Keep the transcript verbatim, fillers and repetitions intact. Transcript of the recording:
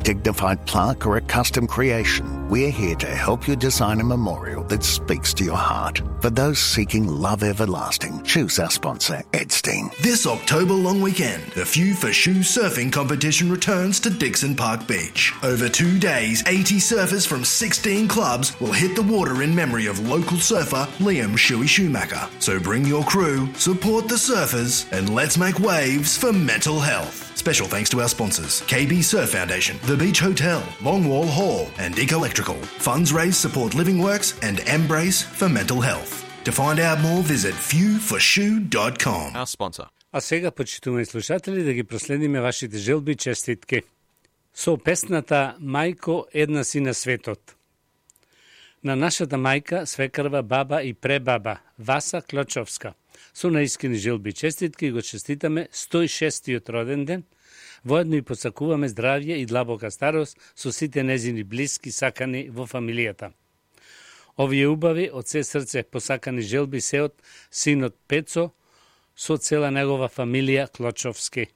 dignified plaque or a custom creation, we're here to help you design a memorial that speaks to your heart. For those seeking love everlasting, choose our sponsor, Edstein. This October long weekend, the Few for Shoe surfing competition returns to Dixon Park Beach. Over two days, eighty surfers from sixteen clubs will hit the water in memory of local surfer Liam Shuey Schumacher. So bring your crew, support the surfers, and let's make waves for mental health. Special thanks to our sponsors, K B Surf Foundation, The Beach Hotel, Longwall Hall, and Eco Electrical. Funds raised support Living Works and Embrace for Mental Health. To find out more, visit few for shoe dot com. Our sponsor. А сега, почитувани слушатели, да ги проследиме вашите желби и честитки. Со песната «Мајко, една си на светот». На нашата мајка, свекрва, баба и пребаба, Васа Клочовска. Со наискрени желби и честитки го честитаме сто и шестиот роден ден. Воедно и посакуваме здравје и длабока старост со сите незини блиски сакани во фамилијата. Овие убави од се срце посакани желби се од синот Пецо со цела негова фамилија Клочовски.